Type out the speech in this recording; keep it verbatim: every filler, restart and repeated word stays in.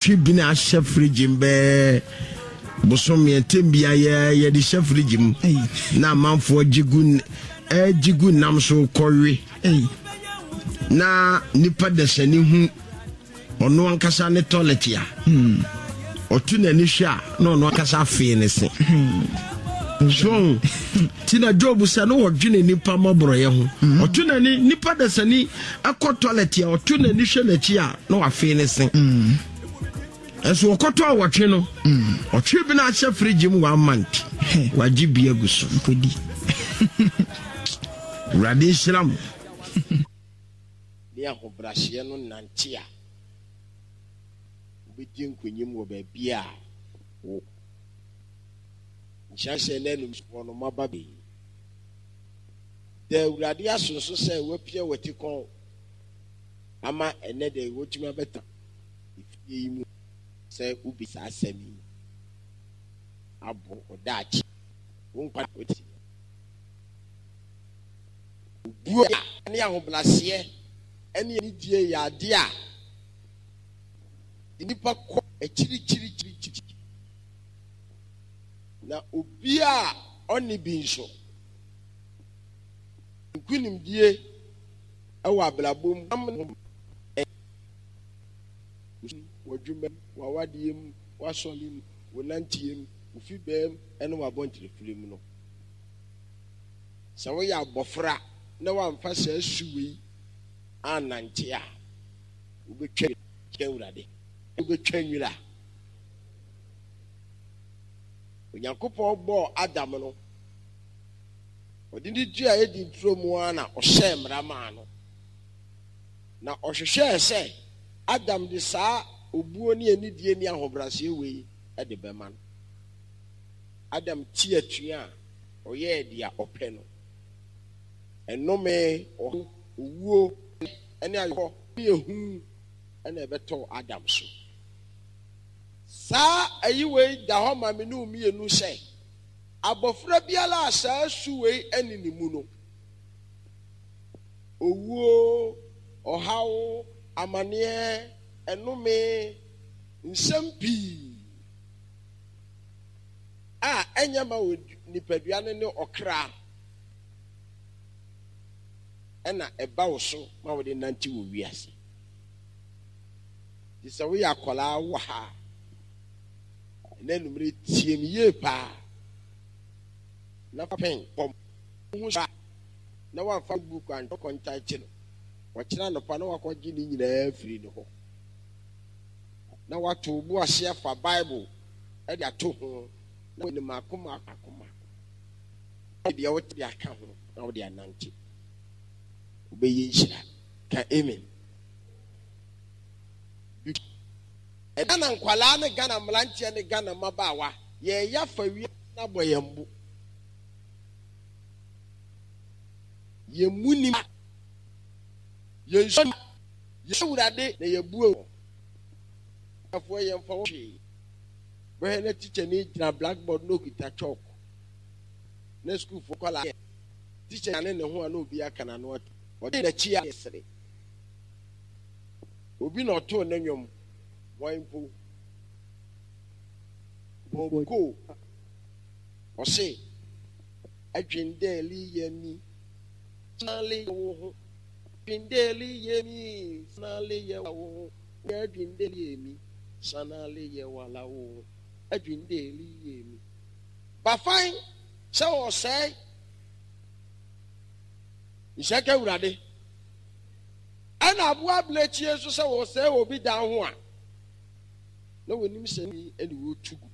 Ɔtwe bi na ahyɛ fridge mu bɛɛ bosom mmiɛntɛm bi ayɛ yɛde hyɛ fridge mu na amanfoɔ gye gu ɛgye gu nam so kɔwe na nipa dasani hu ɔno ankasa ne toilet a ɔto n'ani hwɛ a na ɔno ankasa afee ne se so ti na Job sɛ no wɔdwene nipa mmɔborɔyɛ ho ɔto n'ani nipa dasani ɛkɔ toilet a ɔto n'ani hwɛ n'akyi a na wafee ne se ɛnso wɔkɔtɔ a wɔtwe no ɔtwe bi no ahyɛ fridge mu one month wagye bi agu so. Nkɔdi. Awurade nhyira mo ne ahobrɛaseɛ no nante a wobɛdi nkonim wɔ baabi a wo nhyira sɛ na anum soɔ no maba bɛyi da. Awurade aso nso sɛ wapia wati kɔn ama ɛnɛ de wɔtumi abɛta efie yi mu sɛ wobi saa asɛm yi abɔ ɔdaakye wo nkwa wɔti obuo a ne ahobrɛaseɛ ne anidie yɛ adeɛ a nnipa kɔ akyirikyirikyirikyiri na obi a ɔne bi nso nkonimdie wɔ abrabɔ mu am w'adwuma mu, w'awadeɛ mu, w'asɔre mu, wo nanteɛ mu, wo fibaa mu ne w'abɔntenefire mu no. Sɛ woyɛ abɔfra na woamfa saa su wei annante a, wobɛtwa Awurade, wobɛtwa nwira. Onyankopɔn bɔɔ Adam no, ɔde ne dua Eden turo mu ara na ɔhyɛɛ mmara maa no. Na ɔhwehwɛɛ sɛ Adam de saa obuo ne anidie ne ahobrɛaseɛ wei de bɛma no. Adam ti atua a ɔyɛɛ deɛ ɔpɛ no, ɛnome, ɔhaw, owuo ne ayɔkɔ ne ehu na ɛbɛtɔɔ Adam so. Saa ayi wei da hɔ ma me ne wo mmienu sɛ abɔfra biara a saa su wei ɛne ne mu no, owuo, ɔhaw, amaneɛ, ɛnome, nsɛm pii a ɛnyɛ ma wɔ nipadua no ne ɔkra ɛna ɛba wo so ma wode nante wɔ wiase. Nti sɛ woyɛ akwadaa wɔ ha a, ɛnɛ anwummere tie me yie paa na fa pɛn kɔm ho sa na wamfa book antɔ kɔntaete no wɔkyerɛ anɔpa na wakɔgye ne nyinaa firi ne hɔ na wato bo ase afa Bible de ato ho na wɔde mako mako mako deɛ wote de aka ho na wode anante wobɛyɛ nhyira. Ka amen. Ghana nkwalaa ne Ghana mmeranteɛ ne Ghana mmabaawa yɛyɛ afa wiase no abɔ yɛn bo yɛn mu nim yɛn nsuo yɛn Awurade na yɛbue wɔn afoɔ yɛn fa wɔn hwee bɛhwɛ na tikya ni gyina blackboard na okita chalk na sukuufoɔ nkwadaa yɛ tikya ne ne ho a na obi aka n'ano ato ɔde n'akyi a sere obi na ɔtoo ne nnwom wɔn mpo Bob ɔse adwendɛɛli yɛ mi sanale yɛ wo ho adwendɛɛli yɛ mi sanale yɛ wo ho adwendɛɛli yɛ mi sanale yɛ wala wo ho adwendɛɛli yɛ mi bafan sɛ ɔsɛe nhyɛ ka Awurade ɛna aboa abirekyie nso sɛ wɔsɛe obi dan ho a na wɔnim sɛ ni ɛne wɔtu gu.